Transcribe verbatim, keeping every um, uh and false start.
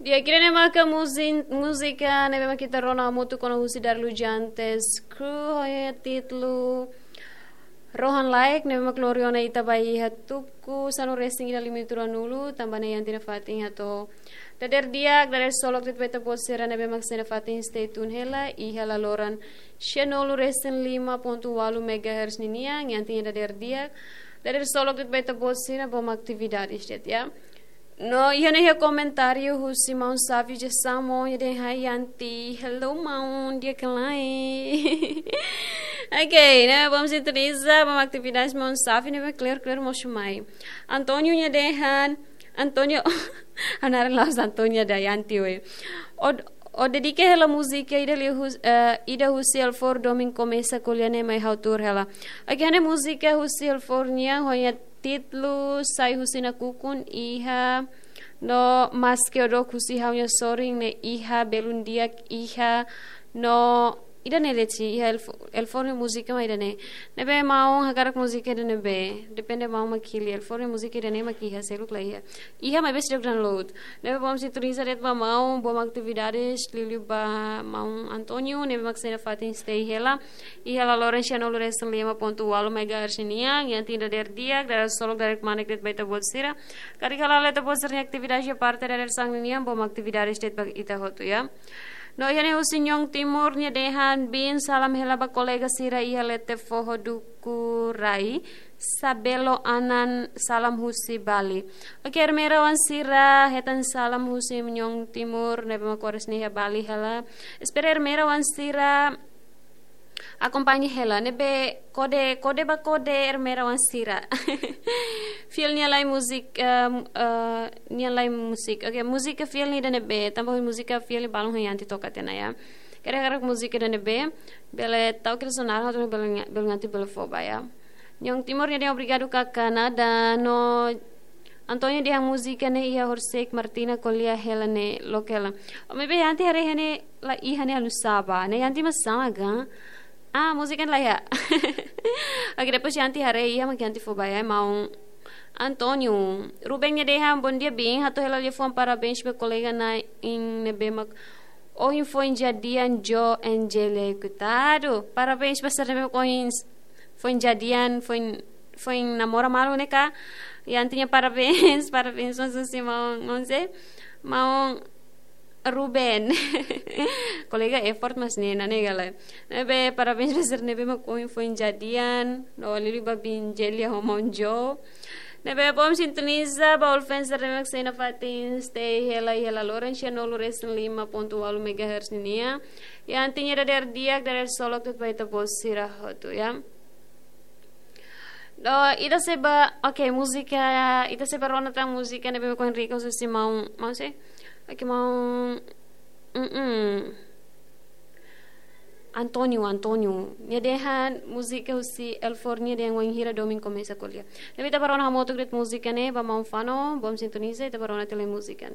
Di'ak, ida-ne'e maka muzin-, múzika ne'ebé mak ita rona hamutuk ona husi Darlu Jantes Crew, ho títulu Rohan Laek, ne'ebé mak lori ona ita ba iha tuku sanulu-resin-ida liu-nulu, tanba ne'e iha ita-nia fatin hato'o. Dadeer di'ak, dadeer solok de'it ba ita-boot sira ne'ebé mak sei iha ita-nia fatin, stay tune hela, iha laloran sianulu-resin-lima pontu ualu megahertz ninian, iha ita-nia dadeer di'ak, dadeer solok de'it ba ita-boot sira, bom atividades de'it, ya. No, iha ne'e iha komentáriu husi maun Safi Jesamo, nia dehan: "Hai Yanti, hello maun, di'ak ka lae?" Ok, ne'e bom sintoniza, bom atividades maun Safi, ne'e clear, clear, mós mai. Antonio nia dehan, Antonio, ha'u naran la'ós Antonio da Yanti, we. Ó, ó dedika hela múzika ida liu hus-, eh, ida husi Elfor Domin Komesa Ko'alia ne'e mai ha'u tuur hela. Ok, ne'e múzika husi Elfor nian, ho nia títulu Sai Husi Nakukun iha, no Maske Odok Husi Ha'u-nia Sorin ne'e iha, Belun Di'ak iha, no ida-ne'e de'it, iha Elf-, Elfor nia múzika mak ida-ne'e. Ne'ebé maun hakarak múzika ida-ne'ebé, depende maun mak hili. Elfor nia múzika ida-ne'e mak iha, seluk la iha. Iha maibé seidauk download. Ne'ebé bom sintoniza de'it ba maun, bom atividades, liuliu ba maun Antonio, ne'ebé mak sei iha ita-nia fatin, stay hela. Iha laloran sianulu-resin-lima pontu ualu megahertz ninian, iha ita-nia dadeer di'ak, dadeer solok, dadeer kmanek de'it ba ita-boot sira. Karik hala'o ita-boot sira-nia atividade iha parte dadeer-saan ninian, bom atividades de'it ba ita hotu, ya. No iha ne'e husi Nyong Timur, nia dehan: "Bin, salam hela ba kolega sira iha leten foho Dukurai, Sabelo Anan, salam husi Bali." Ok, Ermera wan sira hetan salam husi Nyong Timur, ne'ebé mak oras ne'e iha Bali hela. Espera Ermera wan sira akompaña hela, ne'ebé kode, kode ba kode Ermera wan sira. Fiel nia lae musik, em, eh, nia lae musik. Ok, múzika fiel ne'e ida-ne'ebé, tanba múzika fiel balun ha'u-nia Yanti toka tiha ona, ya. Karik hakarak múzika ida-ne'ebé, bele tau kira sonar, ha'u bele, bele Yanti bele fó ba, ya. Nyong Timur nia dehan: "Obrigadu kaka, nada." No Antonio dehan múzika ne'e iha horisehik Martina Ko'alia hela ne'e, loke hela. Ó, maibé Yanti haree iha ne'e la iha ne'e, anu saba. Ne'e Yanti mak sama kan? Ah, múzika ne'e la iha. Ok, depois Yanti haree iha mak Yanti fó ba, ya, maun Antonio. Ruben nia dehan: "Bom dia, bin. Hato'o hela liafuan parabéns ba kolega na'in ne'ebé mak ohin foin jadian, Jo Angelia, koitadu. Parabéns ba sira ne'ebé mak ohin foin jadian, foin, foin namora malu ne'e ka." Yanti nia parabéns, parabéns mós husi maun, maun sé? Maun Ruben. Kolega effort mós ne'e, ne'e ka lae. Ne'ebé parabéns ba sira ne'ebé mak ohin foin jadian, no liuliu ba bin Jelia ho maun Jo. Ne'ebé bom sintoniza ba all fans sira ne'ebé mak sei iha ita-nia fatin, stay hela, iha laloran sianulu-resin-lima pontu ualu megahertz ninian. Iha ita-nia dadeer di'ak, dadeer solok de'it ba ita-boot sira hotu, ya. No, ita sei ba, ok, múzika, ita sei ba rona tan múzika ne'ebé mak ohin riko husi maun, maun sé? Ok, maun, mm, mm. Antonio, Antonio. Nia dehan múzika husi Elfor, nia dehan Wainhira Domin Komesa Ko'alia. Ne'ebé ita ba rona hamutuk de'it múzika ne'e, ba maun Fano, bom sintoniza, ita ba rona tiha lai múzika ne'e.